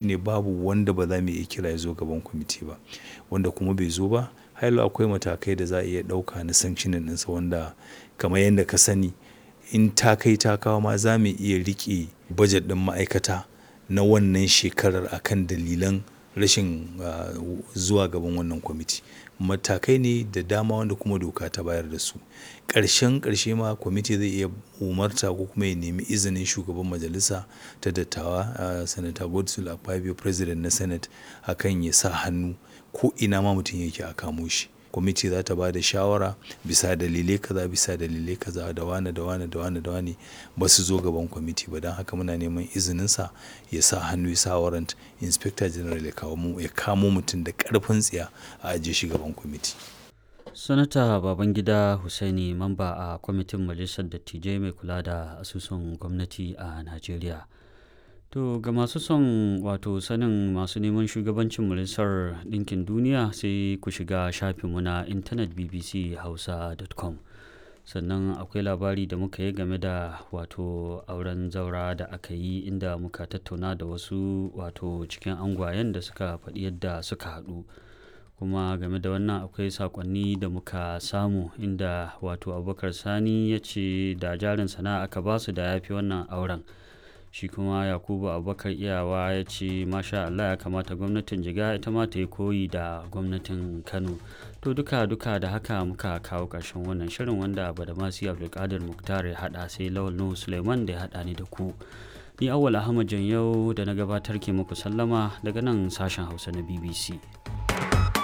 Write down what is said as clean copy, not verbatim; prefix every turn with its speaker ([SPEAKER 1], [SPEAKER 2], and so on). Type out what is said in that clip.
[SPEAKER 1] Ne babu wanda ba za mu iya kira ya zo gaban kwamiti ba. Wanda kuma bai zo ba, har ila akwai matakai da za a iya ɗauka na sanctioning ɗinsa wanda kamar yadda ka sani in ta kai ta kawo ma za mu iya riƙe bajet ɗin ma'aikata na wannan shekarar a kan dalilan rashin zuwa gaban wannan kwamiti. Matakai ne da dama wanda kuma doka ta bayar da su. Ƙarshen ƙarshe ma kwamiti zai iya umarta ko kuma ya nemi izinin shugaban majalisa ta dattawa, Senator Godswill Akpabio, President na Senate, a kan ya sa hannu ko ina ma mutum yake a kamo shi. Kwamiti za ta ba da shawara bisa dalilai kaza, bisa dalilai kaza, da wane, da wane, da wane, da wane ba su zo gaban kwamiti ba. Don haka muna neman izininsa ya sa hannu, ya sa warrant Inspector General ya kawo, ya kamo mutum da ƙarfin tsiya a ajiye shi gaban kwamiti.
[SPEAKER 2] Sanata Babangida Hussaini, mamba a kwamitin Majalisar Dattijai mai kula da asusun gwamnati a Najeriya. To ga masu son wato sanin masu neman shugabancin Majalisar Ɗinkin Duniya, sai ku shiga shafinmu na intanet bbchausa.com. Sannan akwai labari da muka yi game da wato auren zaura da aka yi, inda muka tattauna da wasu wato cikin angwayen da suka faɗi yadda suka haɗu. Kuma game da wannan akwai saƙonni da muka samu, inda wato Abubakar Sani ya ce da jarin sana'a aka basu da ya fi wannan auren. Shi kuma Yakubu Abubakar Iyawa ya ce masha Allah, ya kamata gwamnatin Jigawa ita ma ta yi koyi da gwamnatin Kano. To duka duka da haka muka kawo ƙarshen wannan shirin wanda Badamasi Abdulkadir Muktar ya haɗa, sai Lawal Nuhu Suleiman da ya haɗa ni da ku. Ni Awwal Ahmad Janyau da na gabatar ke muku sallama daga nan sashen Hausa na BBC.